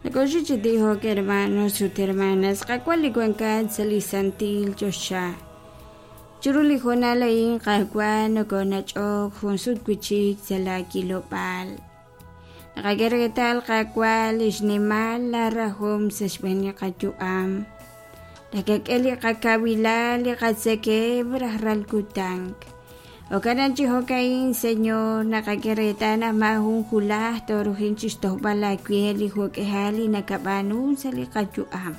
Nokoxik chi tijok, hermanos ut hermanas, Qaawa' li wankat sa' li santil choxa. Chiru li hoonal a'in, Qaawa', nokonach'ok jun sut wi'chik sa' laa kilob'aal. Naqak'e reetal, Qaawa', lix nimal laa rajom sa' xb'een li qayu'am. Nakak'e li qakawilal, li qatzekemq rajlal kutan. Jo'kan chi jo'ka'in, Señor, naqak'e reetal naq maajun julaj tooruhin chixtojb'al aawe li jo'k'ihal li nakab'aanu sa' li qayu'am.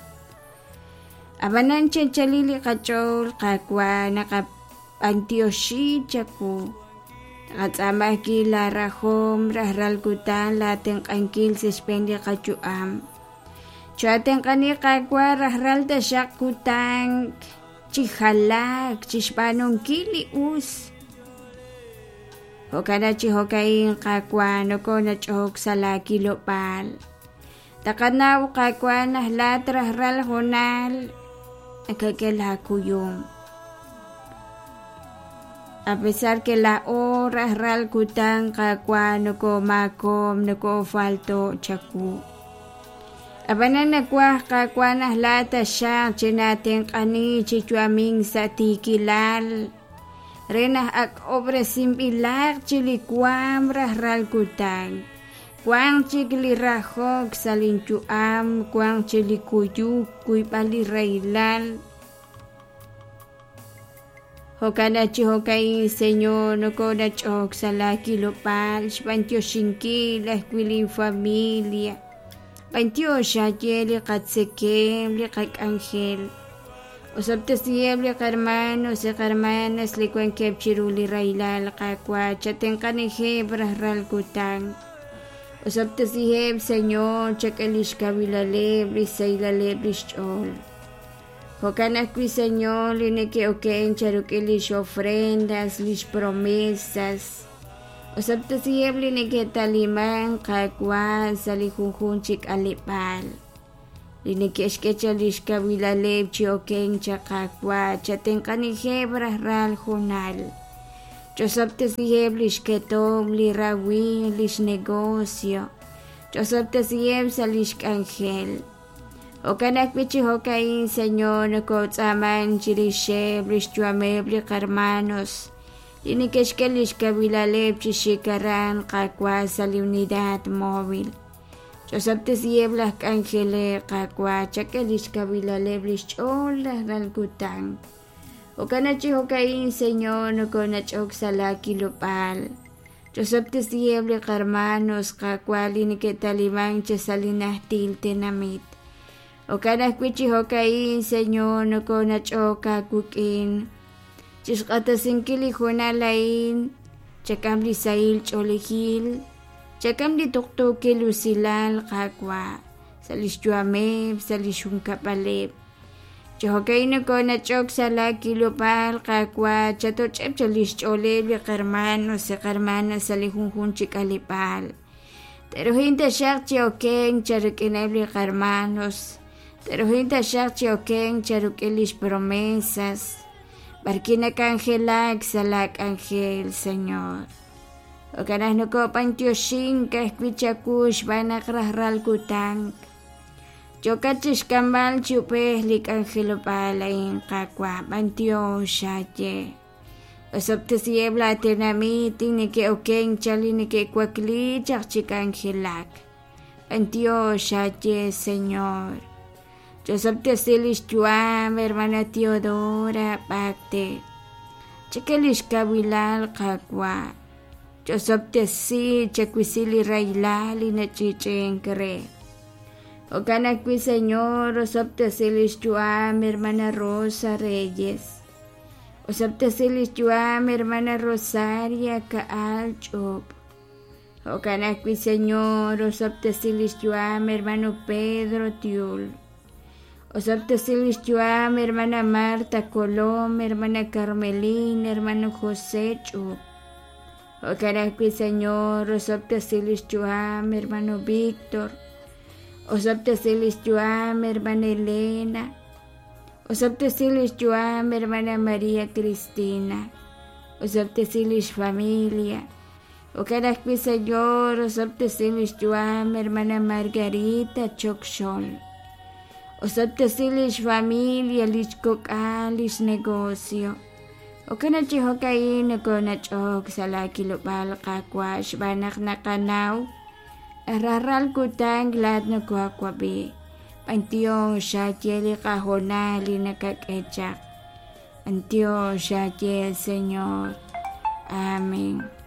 Ab'anan chanchalil li qach'ool, Qaawa', naqab'antioxi chawu. Naqatz'aama ajwi' laa rajom rajlal kutan laa tenq'ankil sa' xb'een li qayu'am. Choo'atenq'ani, Qaawa', rajlal taxaq kutan chi jalaak, chixb'aanunkil li us. Jo'kan chi jo'ka'in, Qaawa', nokonach'ok sa' laa kilob'aal. Taqanaw, Qaawa', naq laat rajlal hoonal nakak'e laa kuyum. A pesar que laa'o rajlal kutan, Qaawa', nokomaakob', nokofalto' chawu. Ab'anan nawaj, Qaawa', naq laat taxaq chinaatenq'ani chi yu'amink sa' tiikilal re naq ak'ob'resinb'ilaq chi li waam rajlal kutan. Wanq chik li rajok sa' linyu'am, wanq chik li kuyuk, kuyb'al li rahilal. Jo'kan naq chi jo'ka'in, Señor, nokonach'ok sa' laa kilob'aal xb'antioxinkil ajwi' lin familia. B'antiox aawe li qatzekemq, li qak'anjel. Osob'tesiheb' li qarmanos, li qarmanas li wankeb' chiru li rahilal, Qaawa', chatenq'anijeb' rajlal kutan. Osob'tesiheb', Señor, chak'e lix kawilaleb', lix sahilaleb' lix ch'ool. Jo'kan ajwi', Señor, li neke'oken charuk'il lix ofrendas, lix promesas. Osob'tesiheb' li neke'taliman, Qaawa', sa' li junjunq chi k'aleb'aal. Li neke'xk'e chaq lix kawilaleb' chi okenk chaq, Qaawa', chatenq'anijeb' rajlal hoonal. Chosob'tesiheb' lix ketomq, li rawimq, lix negocio. Chosob'tesiheb' sa' lix k'anjel. Jo'kan ajwi' chi jo'ka'in, Señor, nokotz'aaman chirixeb' lix yu'ameb' li qarmanos li neke'xk'e lix kawilaleb' chi xik aran, Qaawa', sa' li unidad móvil. Ch'osob'tesiheb' laj k'anjeleb', Qaawa', chak'e lix kawilaleb' lix ch'ool rajlal kutan. Jo'kan naq chi jo'ka'in, Señor, nokonach'ok sa' laa kilob'aal. Ch'osob'tesiheb' li qarmanos, Qaawa', li neke'talimank chi sa' li najtil tenamit. Jo'kan ajwi' chi jo'ka'in, Señor, nokonach'ok aawik'in chixq'axtesinkil li hoonal a'in, chak'am li sahil ch'oolejil, chak'am li tuqtuukil usilal, Qaawa', sa' lix yu'ameb', sa' lix junkab'aleb'. Chi jo'ka'in nokonach'ok sa' laa kilob'aal, Qaawa', chatoch'eb' chaq lix ch'ooleb' li qarmanos, li qarmanas sa' li junjunq chi k'aleb'aal. Te'ruhin taxaq chi okenk charik'ineb' li qarmanos, te'ruhin taxaq chi okenk charuk'in lix promesas, b'arwi' nak'anjelak sa' laa k'anjel, Señor. Jo'kan naq nokob'antioxink ajwi' chawu xb'aan naq rajlal kutan yookat chixk'amb'al chi ub'ej li k'anjelob'aal a'in, Qaawa', b'antiox aawe. Osob'tesiheb' laa tenamit li neke'okenk chaq li neke'wakli chaq chi k'anjelak. B'antiox aawe, Señor. Chosob'tesi lix yu'am, hermana Teodora B'akte. Chak'e lix kawilal, Qaawa'. Chosob'tesi, chawisi li rahilal li nach'i'ch'i'ink re. Jo'kan ajwi', Señor, osob'tesi lix yu'am, hermana Rosa Reyes. Osob'tesi lix yu'am, hermana Rosaria Ka'al Ch'ub'. Jo'kan ajwi', Señor, osob'tesi lix yu'am, hermano Pedro Tiul. Osob'tesi lix yu'am, hermana Marta Colom, hermana Carmelina, hermano José Ch'ub. Jo'kan ajwi', Señor, osob'tesi lix yu'am, hermano Víctor. Osob'tesi lix yu'am, hermana Elena. Osob'tesi lix yu'am, hermana María Cristina. Osob'tesi lix familia. Jo'kan ajwi', Señor, osob'tesi lix yu'am hermana Margarita Choc Xol. Osob'tesi lix familia, lix kok'al, lix negocio. Jo'kan naq chi jo'ka'in nokonach'ok sa' laa kilob'aal, Qaawa', xb'aan naq naqanaw rajlal kutan laa'at nokoawab'i. B'antiox aaye li qahoonal li nakak'e chaq. B'antiox aaye, Señor. Amén.